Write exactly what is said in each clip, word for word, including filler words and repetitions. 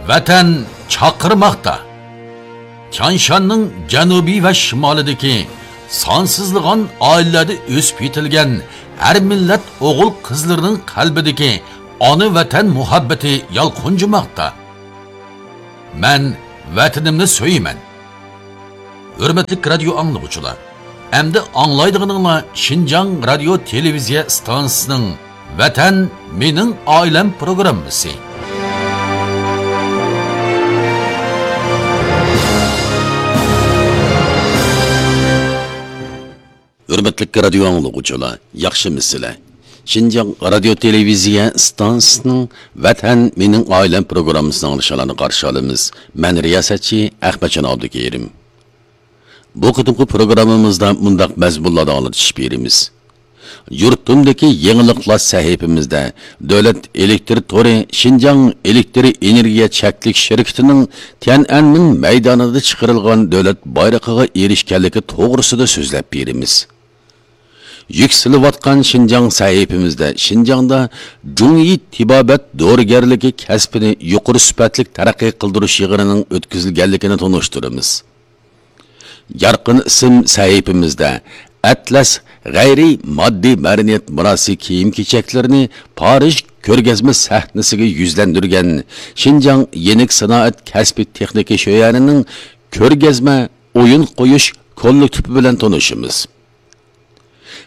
ۋەتەن چاقىرماقتا. تيانشاننىڭ جەنۇبى ۋە شىمالىدىكى سانسىزلىغان ئائىلىلەردە ئۆسۈپ يېتىلگەن ھەر مىللەت ئوغۇل-قىزلىرىنىڭ قەلبىدىكى ئانا ۋەتەن مۇھەببىتى يالقۇنجىماقتا. مەن ۋەتىنىمنى سۆيىمەن. ھۆرمەتلىك رادىيو ئاڭلىغۇچىلار، ئەمدى ئاڭلايدىغىنىڭلار شىنجاڭ رادىيو تېلېۋىزىيە ئىستانسىسىنىڭ ۋەتەن مېنىڭ ئائىلەم پروگراممىسى. ھۆرمەتلىك رادىيو ئاڭلىغۇچىلار، ياخشىمۇسىلەر؟ شىنجاڭ رادىيو تېلېۋىزىيە ئىستانسىسىنىڭ ۋەتەن مېنىڭ ئائىلەم پروگراممىسىنى ئاڭلىشىڭلارنى قارشى ئالىمىز. مەن رىياسەتچى ئەخمەتجان ئابدۇكېرىم. بۇ قېتىمقى پروگراممىمىزدا مۇنداق مەزمۇنلاردا ئاڭلىتىش بېرىمىز. يۇرتۇمدىكى يېڭىلىقلار سەھىپىمىزدە دۆلەت ئېلېكتر تورى شىنجاڭ ئېلېكتر ئېنېرگىيە چەكلىك شىركىتىنىڭ تيەنئەنمېن مەيدانىدا چىقىرىلغان دۆلەت بايرىقىغا ئېرىشكەنلىكى توغرىسىدا سۆزلەپ بېرىمىز. يۈكسىلىۋاتقان شىنجاڭ سەھىپىمىزدە شىنجاڭدا جۇڭيى تېبابەت دورىگەرلىكى كەسپىنى يۇقىرى سۈپەتلىك تەرەققىي قىلدۇرۇش يىغىنىنىڭ ئۆتكۈزۈلگەنلىكىنى تونۇشتۇرىمىز. يارقىن ئىسىم سەھىپىمىزدە ئەتلەس غەيرىي ماددىي مەدەنىيەت مىراسى كىيىم-كېچەكلىرىنى پارىژ كۆرگەزمە سەھنىسىگە يۈزلەندۈرگەن شىنجاڭ يېنىك سانائەت كەسپىي تېخنىكا شۆيەنىنىڭ كۆرگەزمە ئويۇن قويۇش كوللېكتىپى بىلەن تونۇشىمىز.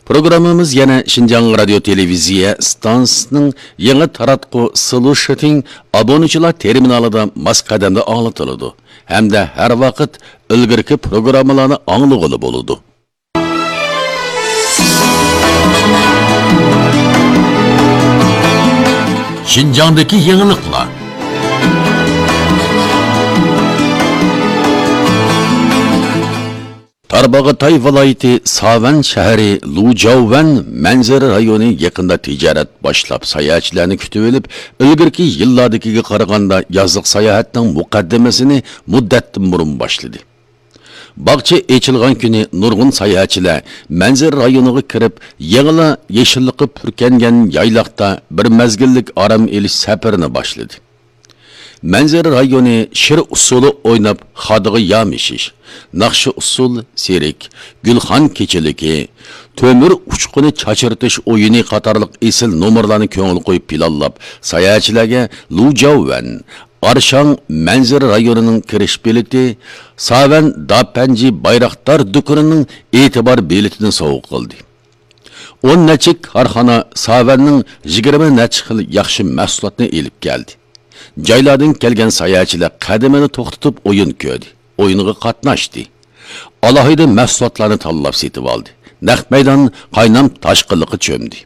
پروگراممىمىز يەنە شىنجاڭ رادىيو تېلېۋىزىيە ئىستانسىسىنىڭ يېڭى تاراتقۇ سلۇشىتىڭ ئابۇنىچىلار تېرمىنالىدا ماس قەدەمدە ئاڭلىتىلىدۇ ھەمدە ھەر ۋاقىت ئىلگىرىكى پروگراممىلارنى ئاڭلىغىلى بولىدۇ. شىنجاڭدىكى يېڭىلىقلار. تارباغاتاي ۋىلايىتى ساۋەن شەھىرى لۇجياۋەن مەنزىرە رايونى يېقىندا تىجارەت باشلاپ، ساياھەتچىلەرنى كۈتۈۋېلىپ، ئىلگىرىكى يىللاردىكىگە قارىغاندا يازلىق ساياھەتنىڭ مۇقەددىمىسىنى مۇددەتتىن بۇرۇن باشلىدى. باغچە ئېچىلغان كۈنى نۇرغۇن ساياھەتچىلەر مەنزىرە رايونىغا كىرىپ، يېڭىلا يېشىللىققا پۈركەنگەن يايلاقتا بىر مەزگىللىك ئارام ئېلىش سەپىرىنى باشلىدى. مەنزىرە رايونى شىر ئۇسسۇلى ئويناپ خادىغا يامىشىش، ناخشا ئۇسسۇل، سېرك، گۈلخان كېچىلىكى، تۆمۈر ئۇچقۇنى چاچرىتىش ئويۇنى قاتارلىق ئېسىل نومۇرلارنى كۆڭۈل قويۇپ پىلانلاپ، ساياھەتچىلەرگە لۇجياۋەن، ئارشاڭ مەنزىرە رايونىنىڭ كىرىش بېلىتى، ساۋەن داپەنجى بايراقدار دۇكىنىنىڭ ئېتىبار بېلىتىنى سوۋغا قىلدى. ئون نەچچە كارخانا ساۋەننىڭ يىگىرمە نەچچە خىل ياخشى مەھسۇلاتنى ئېلىپ كەلدى. جايلاردىن كەلگەن ساياھەتچىلەر قەدىمىنى توختىتىپ ئويۇن كۆردى، ئويۇنغا قاتناشتى. ئالاھىدە مەھسۇلاتلارنى تاللاپ سېتىۋالدى. نەق مەيدان قاينام تاشقىنلىققا چۆمدى.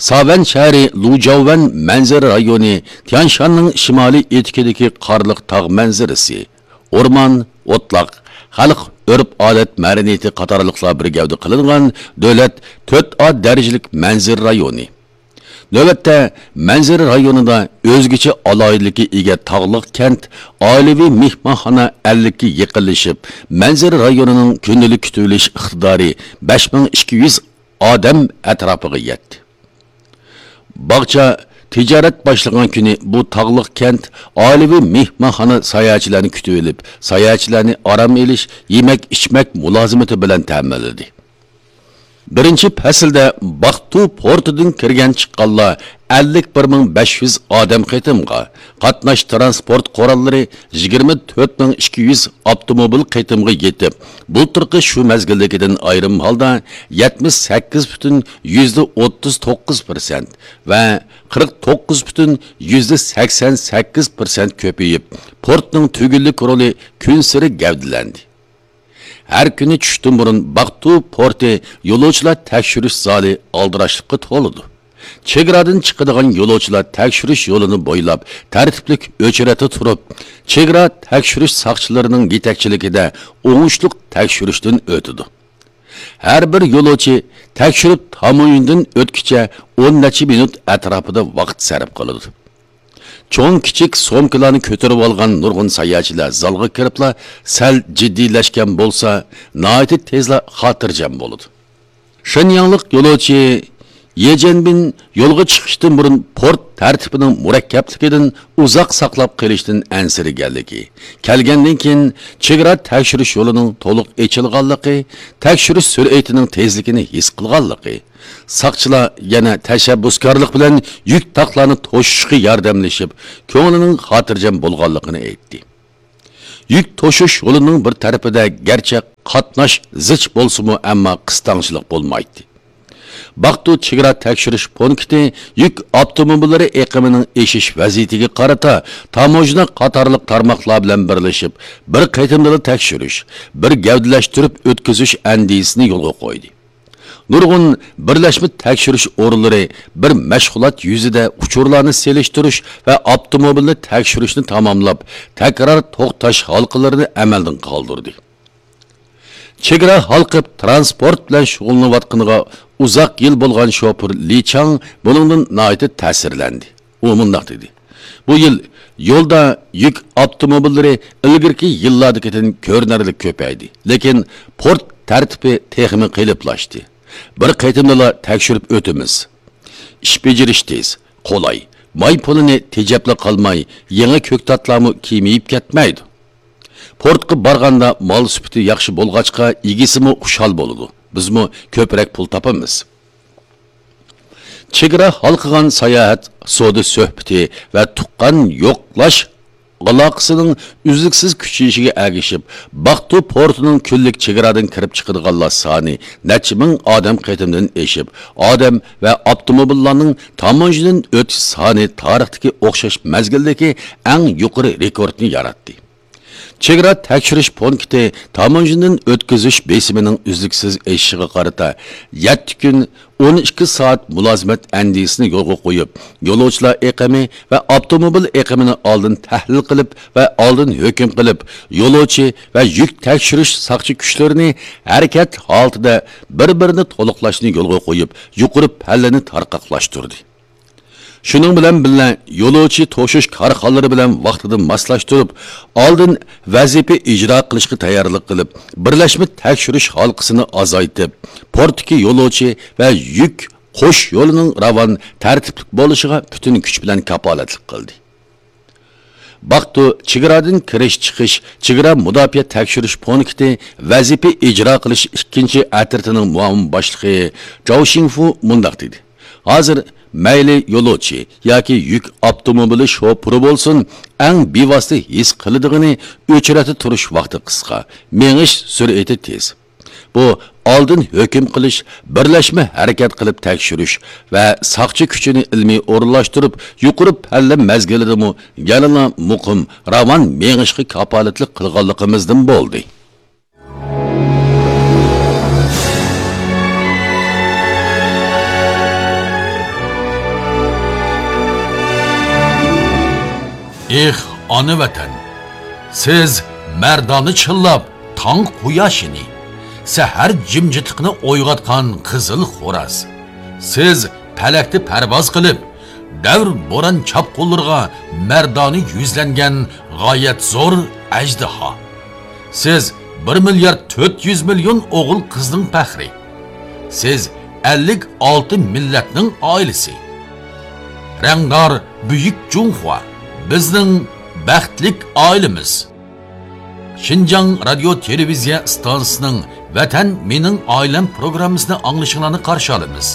ساۋەن شەھىرى لۇجياۋەن مەنزىرە رايونى تيانشاننىڭ شىمالىي ئېتىكىدىكى قارلىق تاغ مەنزىرىسى، ئورمان، ئوتلاق، خەلق ئۆرپ-ئادەت مەدەنىيىتى قاتارلىقلار بىر گەۋدە قىلىنغان دۆلەت تۆت ئا دەرىجىلىك مەنزىرە رايونى. نۆۋەتتە مەنزىرە رايونىدا ئۆزگىچە ئالاھىدىلىككە ئىگە تاغلىق كەنت ئائىلىۋى مېھمانخانا ئەللىككە يېقىنلىشىپ، مەنزىرە رايونىنىڭ كۈندىلىك كۈتۈۋېلىش ئىقتىدارى بەش مىڭ ئىككى يۈز ئادەم ئەتراپىغا يەتتى. باغچە تىجارەت باشلىغان كۈنى بۇ تاغلىق كەنت ئائىلىۋى مېھمانخانا ساياھەتچىلەرنى كۈتۈۋېلىپ، ساياھەتچىلەرنى ئارام ئېلىش، يېمەك-ئىچمەك مۇلازىمىتى بىلەن تەمىنلىدى. بىرىنچى پەسىلدە باقتۇ پورتىدىن كىرگەن چىققانلار ئەللىك بىر مىڭ بەش يۈز ئادەم قېتىمغا، قاتناش تىرانسپورت قوراللىرى يىگىرمە تۆت مىڭ ئىككى يۈز ئاپتوموبىل قېتىمغا يېتىپ، بۇلتۇرقى شۇ مەزگىلدىكىدىن ئايرىم ھالدا يەتمىش سەككىز پۈتۈن يۈزدە ئوتتۇز توققۇز پىرسەنت ۋە قىرىق توققۇز پۈتۈن يۈزدە سەكسەن سەككىز پىرسەنت كۆپىيىپ، پورتنىڭ تۈگۈنلۈك رولى كۈنسېرى گەۋدىلەندى. ھەر كۈنى چۈشتىن بۇرۇن باقتۇ پورتى يولۇچىلار تەكشۈرۈش زالى ئالدىراشلىققا تولىدۇ. چېگرادىن چىقىدىغان يولۇچىلار تەكشۈرۈش يولىنى بويلاپ تەرتىپلىك ئۆچرەتتە تۇرۇپ، چېگرا تەكشۈرۈش ساقچىلىرىنىڭ يېتەكچىلىكىدە ئوڭۇشلۇق تەكشۈرۈشتىن ئۆتىدۇ. ھەر بىر يولۇچى تەكشۈرۈپ تاموژنىدىن ئۆتكۈچە ئون نەچچە مىنۇت ئەتراپىدا ۋاقىت سەرپ قىلىدۇ. چوڭ-كىچىك سومكىلارنى كۆتۈرۈۋالغان نۇرغۇن ساياھەتچىلەر زالغا كىرىپلا سەل جىددىيلەشكەن بولسا، ناھايىتى تېزلا خاتىرجەم بولىدۇ. شېنياڭلىق يولۇچى يې جيەنبىن يولغا چىقىشتىن بۇرۇن پورت تەرتىپىنىڭ مۇرەككەپلىكىدىن ئۇزاق ساقلاپ قېلىشتىن ئەنسىرىگەنلىكى، كەلگەندىن كېيىن چېگرا تەكشۈرۈش يولىنىڭ تولۇق ئېچىلغانلىقى، تەكشۈرۈش سۈرئىتىنىڭ تېزلىكىنى ھېس قىلغانلىقى، ساقچىلار يەنە تەشەببۇسكارلىق بىلەن يۈك تاقلارنى توشۇشقا ياردەملىشىپ، كۆڭلىنىڭ خاتىرجەم بولغانلىقىنى ئېيتتى. يۈك توشۇش يولىنىڭ بىر تەرىپىدە گەرچە قاتناش زىچ بولسىمۇ، ئەمما قىستاڭچىلىق بولمايتتى. باقتۇ چېگرا تەكشۈرۈش پونكىتى يۈك ئاپتوموبىللىرى ئېقىمىنىڭ ئېشىش ۋەزىيىتىگە قارىتا تاموژنا قاتارلىق تارماقلار بىلەن بىرلىشىپ، بىر قېتىمدىلا تەكشۈرۈش، بىر گەۋدىلەشتۈرۈپ ئۆتكۈزۈش ئەندىزىسىنى يولغا قويدى. نۇرغۇن بىرلەشمە تەكشۈرۈش ئورۇنلىرى بىر مەشغۇلات يۈزىدە ئۇچۇرلارنى سېلىشتۇرۇش ۋە ئاپتوموبىلنى تەكشۈرۈشنى تاماملاپ، تەكرار توختاش ھالقىلىرىنى ئەمەلدىن قالدۇردى. چېگرا ھالقىپ تىرانسپورت بىلەن شۇغۇللىنىۋاتقىنىغا ئۇزاق يىل بولغان شوپۇر لى چاڭ بۇنىڭدىن ناھايىتى تەسىرلەندى. ئۇ مۇنداق دېدى: «بۇ يىل يولدا يۈك ئاپتوموبىللىرى ئىلگىرىكى يىللاردىكىدىن كۆرۈنەرلىك كۆپەيدى، لېكىن پورت تەرتىپى تېخىمۇ قېلىپلاشتى. بىر قېتىمدىلا تەكشۈرۈپ ئۆتىمىز. ئىش بېجىرىش تېز، قولاي، ماي پۇلىنى تېجەپلا قالماي، يېڭى كۆكتاتلارمۇ كېمىيىپ كەتمەيدۇ. پورتقا بارغاندا مال سۈپىتى ياخشى بولغاچقا، ئىگىسىمۇ خۇشال بولىدۇ، بىزمۇ كۆپرەك پۇل تاپىمىز.» چېگرا ھالقىغان ساياھەت، سودا سۆھبىتى ۋە تۇغقان يوقلاش ئالاقىسىنىڭ ئۈزلۈكسىز كۈچىيىشىگە ئەگىشىپ، باقتۇ پورتىنىڭ كۈنلۈك چېگرادىن كىرىپ چىقىدىغانلار سانى نەچچە مىڭ ئادەم قېتىمدىن ئېشىپ، ئادەم ۋە ئاپتوموبىللارنىڭ تاموژنىدىن ئۆتۈش سانى تارىختىكى ئوخشاش مەزگىلدىكى ئەڭ يۇقىرى رېكورتنى ياراتتى. چېگرا تەكشۈرۈش پونكىتى تاموژنىدىن ئۆتكۈزۈش بېسىمىنىڭ ئۈزلۈكسىز ئېشىشىغا قارىتا، يەتتە كۈن، ئون ئىككى سائەت مۇلازىمەت ئەندىزىسىنى يولغا قويۇپ، يولۇچىلار ئېقىمى ۋە ئاپتوموبىل ئېقىمىنى ئالدىن تەھلىل قىلىپ ۋە ئالدىن ھۆكۈم قىلىپ، يولۇچى ۋە يۈك تەكشۈرۈش ساقچى كۈچلىرىنى ھەرىكەت ھالىتىدە بىر-بىرىنى تولۇقلاشنى يولغا قويۇپ، يۇقىرى پەللىنى تارقاقلاشتۇردى. شۇنىڭ بىلەن بىللە، يولۇچى توشۇش كارخانىلىرى بىلەن ۋاقتىدا ماسلاشتۇرۇپ، ئالدىن ۋەزىپە ئىجرا قىلىشقا تەييارلىق قىلىپ، بىرلەشمە تەكشۈرۈش ھالقىسىنى ئازايتىپ، پورتتىكى يولۇچى ۋە يۈك قوش يولىنىڭ راۋان، تەرتىپلىك بولۇشىغا پۈتۈن كۈچ بىلەن كاپالەتلىك قىلدى. باقتۇ چېگرادىن كىرىش-چىقىش چېگرا مۇداپىئە تەكشۈرۈش پونكىتى ۋەزىپە ئىجرا قىلىش ئىككىنچى ئەترىتىنىڭ مۇئاۋىن باشلىقى جاۋ شىڭفۇ مۇنداق دېدى: «ھازىر مەيلى يولۇچى ياكى يۈك ئاپتوموبىلى شوپۇرى بولسۇن، ئەڭ بىۋاسىتە ھېس قىلىدىغىنى ئۆچرەتتە تۇرۇش ۋاقتى قىسقا، مېڭىش سۈرئىتى تېز. بۇ ئالدىن ھۆكۈم قىلىش، بىرلەشمە ھەرىكەت قىلىپ تەكشۈرۈش ۋە ساقچى كۈچىنى ئىلمىي ئورۇنلاشتۇرۇپ، يۇقىرى پەللە مەزگىلىدىمۇ يەنىلا مۇقىم، راۋان مېڭىشقا كاپالەتلىك قىلغانلىقىمىزدىن بولدى.» ئېھ، ئانا ۋەتەن! سىز مەردانە چىللاپ، تاڭ قۇياشىنى، سەھەر جىمجىتلىقىنى ئويغاتقان قىزىل خوراز. سىز پەلەكتە پەرۋاز قىلىپ، دەۋر بوران چاپقۇنلىرىغا مەردانە يۈزلەنگەن غايەت زور ئەجدىھا. سىز بىر مىليارد تۆت يۈز مىليون ئوغۇل قىزنىڭ پەخرى. سىز ئەللىك ئالتە مىللەتنىڭ ئائىلىسى. رەڭدار بۈيۈك جۇڭخۇا، بىزنىڭ بەختلىك ئائىلىمىز. شىنجاڭ رادىيو تېلېۋىزىيە ئىستانسىسىنىڭ ۋەتەن مېنىڭ ئائىلەم پروگراممىسىنى ئاڭلىشىڭلارنى قارشى ئالىمىز.